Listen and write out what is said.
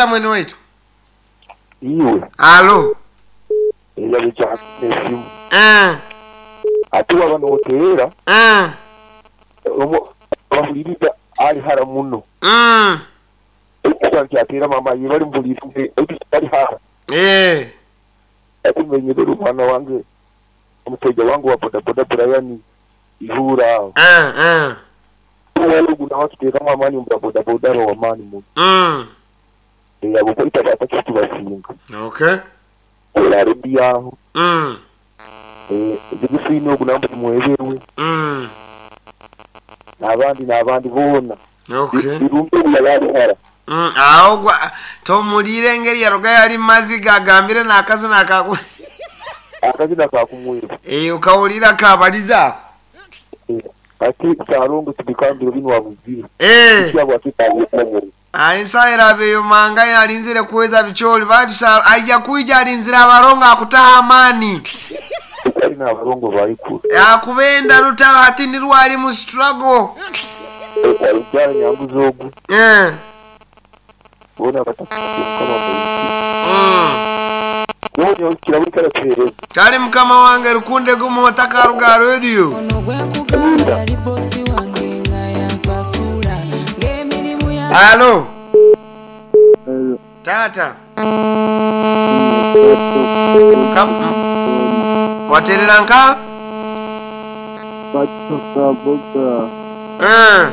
Mwene waitu. Iwe. Alo. Eyabekya esimu. Eh. Ate waba noteera, Eh. Bahuliriza ali hara muno. Ekyo mama ye bali mbuliire ali hara. Eh. Ate menyerera omwana wange, omusajja wange wa bodaboda Brian Ihura aho. Eh, eh. Ogu nawe akiteekamu amaani omu babodaboda aba w'amaani muno. Abo kwita batakisi basinga. Okay. Era rediyo aho. Zigufine ogu namba tumweberwe. N'abandi n'abandi boona. Okay. Birumbe obu yali hara. Awo gwa tomuliire engeri yaroga yali maziga agambire n'akazina akaku. Akazina kakumweba. Eh, okawulira kabaliza. Ate Ssalongo tubikambiro bino wabuzire. Eh. Kyabwe akitaabukomere. Ensaha erabeeyo mangaire alinzire kuweza bicholi batu aija kuija alinzire abarongo akutaha amaani. Kali n'abalongo baikulu. Akubenda lutalo ati nirwali mu struggle. Alukyala nyambuzi ogu. Eh. Boona batakati Mukama mwiki. Yoona okira buli tuheereza. Kale mukama wange rukunde gumu otakaruga radio. Ono gwe nkugamba yali boosi wange nga yansasula ng'emirimu ya Alo. Tata. Waterera nka? Batukabuga. Eh.